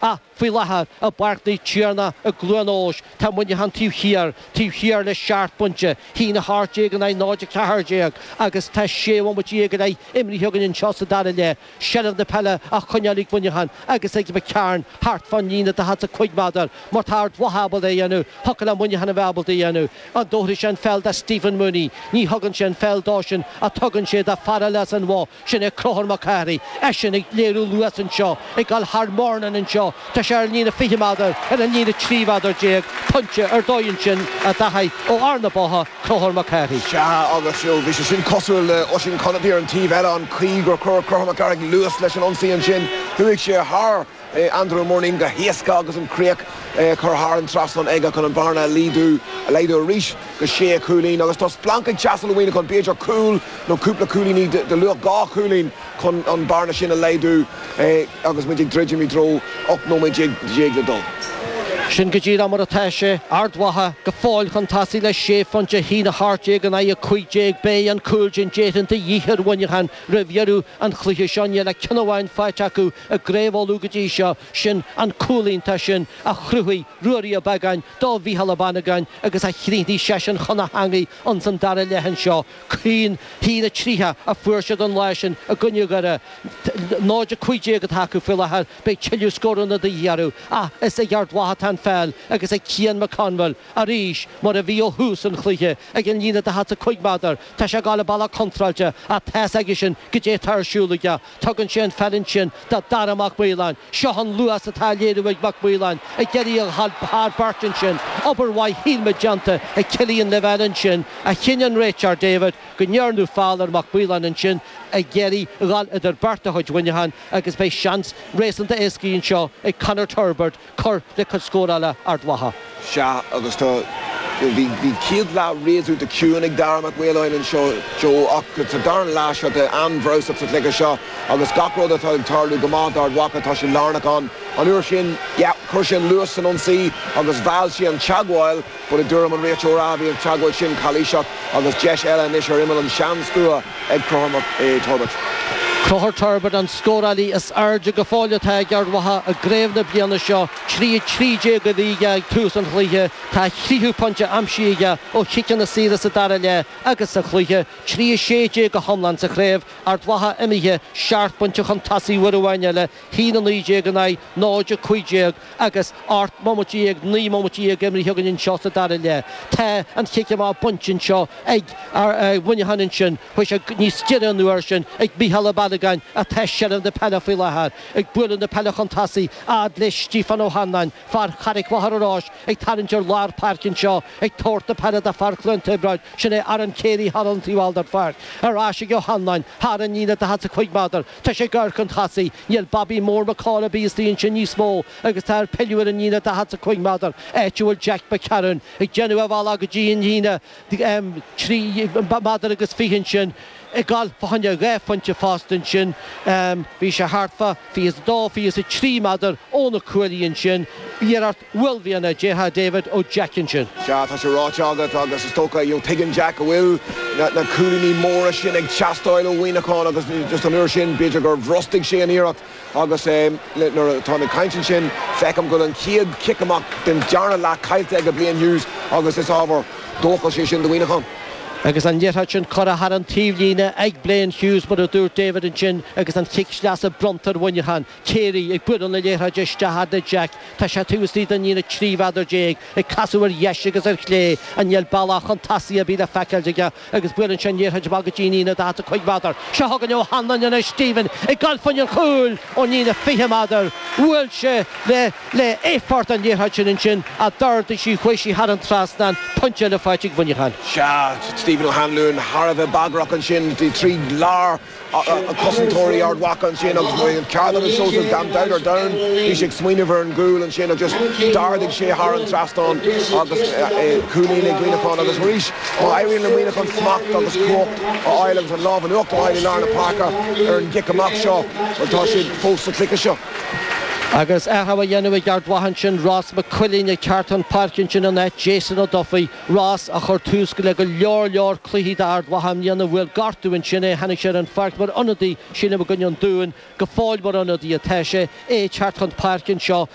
Ach faoi láthair, i bPáirc Naomh Tiarnach i gCluain Eois, tá Muineachán taobh thiar, taobh thiar le seacht bpointe, 1-18 in aghaidh 0-14, agus tá sé bhomaite déag go leith imrithe againn anseo sa dara leath. Seilbh na peile á choinneáil ag Muineachán agus ag McCarn thart fán líne 45 méadar. Má tá Ard Mhacha ábalta é a dhéanamh, thiocfadh le Muineachán a bheith ábalta é a dhéanamh. An dtabharfaidh sé an pheil do Stephen Mooney? Ní thugann sé an pheil dósan ach tugann sé do fear eile as an Bhoth. Sin é Conchúr Mac Cárthaigh, eisean ag léiriú luas anseo, ag dul thar Murnin anseo. Tá sé ar an líne 20 méadar, ar an líne 13 mhéadar. Pointe ar dóigh ansin a Dhaithí ó fhear na Botha, Conchúr Mac Cárthaigh. Sea, agus bhí sé sin cosúil le Oisín Conaty ar an taobh eile, an chaoi gur chuir Conchúr Mac Cárthaigh luas leis an ionsaí ansin. Chuaigh sé thar Andrew Murnane go héasca agus an chríoch curtha thar an trasnán aige chun an bhearna a laghdú arís go sé chúilín. Agus tá splanc ag teastáil ó Mhuineachán, b'fhéidir cúl nó cúpla cúilíní de luach 2 chúilín chun an bearna sin a laghdú agus muid ag druidim i dtreo 18 nóiméad le dul. Sin go díreach mar atá sé. Ard Mhacha go fóill chun tosaigh le sé phointe, 1-18 in aghaidh 15. Beidh an cúl sin déarfainn de dhíth ar Mhuineachán roimh dheireadh an chluiche seo. Níl ach ceann amháin faighte acu i gCraobh Uladh go dtí seo, sin an cúl iontach sin a chruthaigh Ruairí Ó Beagáin do Mhícheál Ó Bannagáin agus a chríochnaigh seisean chun a theangaidh ins an dara leath anseo. 1, 1-30 a fuair siad an lá sin i gcoinne Dhoire. 0-15 atá acu faoi láthair. Beidh tuilleadh scóranna de dhíth orthu. Ach is ag Ard Mhacha atá an pheil agus ag Cian McConville arís, mar a bhí ó thús an chluiche, ag an líne 45 méadar. Tá sé ag dul an bealach contráilte ach tá's aigesean goidé atá ar siúl aige. Tugann sé an pheil ansin do Dara Mac Maoláin. Seo an luas atá á léiriú ag Mac Maoláin ag iarraidh a dhul thar beirt ansin. Obair mhaith shíl muid déanta ag Cillian Lavelle ansin ach chinn an réiteoir David go ndearnadh feall ar Mac Maoláin ansin ag iarraidh a dhul idir beirt de chuid Mhuineacháin agus beidh seans réasúnta éascaí anseo ag Conor Turbitt cur le cuid scórála Ard Mhacha. Sea, agus tá, bhí, bhí céad leath réasúnta ciúin ag Dara Mac Maoláin anseo, Joe, ach sa dara leath seo tá an-bhreabhsach sa chluiche seo agus gach rud atá ag tarlú go maith d'Ard Mhacha, tá sé lárnach ann. An uair sin, yeah, chuir sé an luas san ionsaí agus mheall sé an teagmháil, but i dtuairim an réiteora, bhí an teagmháil sin calaoiseach agus deis eile anois ar imeall an sean-stua. ag Conchúr Turbitt. Conchúr Turbitt an scórálaí is airde go fóill atá ag Ard Mhacha i gcraobh na bliana seo. 3 13 a bhí aige ag tús an chluiche. Tá a thríú pointe aimsithe aige ó chiceanna saora sa dara leath agus sa chluiche. 3 16 go hiomlán sa chraobh. Ard Mhacha imithe seacht bpointe chun tosaigh uair amháin eile. 1 19 in aghaidh 0 15 agus 18 mbomaite, 19 mbomaite imithe againn anseo sa dara leath. Tá an chic amach bainte anseo ag Muineachán ansin. Chuaigh sé níos giorra an uair sin ag Mícheál Ó Bannagáin atá i seilbh na peile faoi láthair. Ag bualadh na peile chun tosaigh fhad le Stíofán Ó hAnnáin, fear Charraig Mhachaire Rois ag tarraingt ar lár páirce anseo ag tabhairt na peile do fear Chluain Tiobraid, sin é Aaron Carey thar an taobh thall den pháirc. Ar ais ag Ó hAnnáin thar an líne 45 méadar. Tá sé ag amharc chun tosaigh. Níl Bobby Mór Mac Cáil ar bith istigh ansin níos mó agus tá air pilleadh ar an líne 45 méadar, áit a bhfuil Jack McCarron ag déanamh a bhealach go dtí an líne 3 méadar agus 20 ansin, ag gabháil fá choinne dhá phointe fosta ansin. Bhí sé thart fá 22, 23 méadar ó na cuaillí ansin. Iarracht uaillmhianach, déarfá, David, ó Jack ansin. Sea, tá sé ráite agat agus is dócha, you know, tuigeann Jack go bhfuil na cúilíní móra sin ag teastáil ó Mhuineachán agus just an uair sin b'fhéidir gur bhrostaigh sé an iarracht agus nuair atáim ag caint ansin feicim go bhfuil an chéad chic amach den dara leath caillte ag Blaine Hughes agus is ábhar dóchais é sin do Mhuineachán. Agus an liathróid sin curtha thar an taobhlíne ag Blaine Hughes mar a dúirt David ansin agus an chic sleasa bronnta ar Mhuineachán. Carey ag bualadh na liathróide isteach fhad le Jack. Tá sé taobh istigh den líne 13 mhéadar, ag casadh ar dheis agus ar chlé. Ach níl bealach chun tosaigh ar bith le feiceáil aige agus buaileann sé an liathróid amach go dtí an líne 45 méadar. Seo chugainn Ó hAnluain anois, Stephen ag dul fá choinne an chúil ón líne 20 méadar. Bhuail sé le le éifeacht an liathróid sin ansin ach d'ardaigh sí, chuaigh sí thar an trasnán. Pointe eile faighte ag Muineachán. Sea, Stephen Ó hAnluain thar a bheith bagrach ansin tríd lár. cosantóirí Ard Mhacha ansin agus bhí an ceart agat Seosamh gan dabht ar domhan bhí sé ag smaoineamh ar an gcúl ansin agus just d'ardaigh sé thar an trasnán agus cúilín ag Muineachán agus arís má éiríonn le Muineachán smacht agus cumhacht a fháil agus an lámh in uachtar a fháil i lár na páirce ar an gcic amach seo bhuel tá siad fós sa chluiche seo. Agus athrú á dhéanamh ag Ard Mhacha ansin, Ross McQuillan ag teacht chun páirce ansin in áit Jason Ó Dufaigh, Ross a chuir tús le go leor leor cluichí d'Ard Mhacha i mbliana, bhuail gortú ansin é, tháinig sé ar an pháirc mar ionadaí, sílim i gcoinne an Dúin, go fóill mar ionadaí atá sé, é ag teacht chun páirce anseo.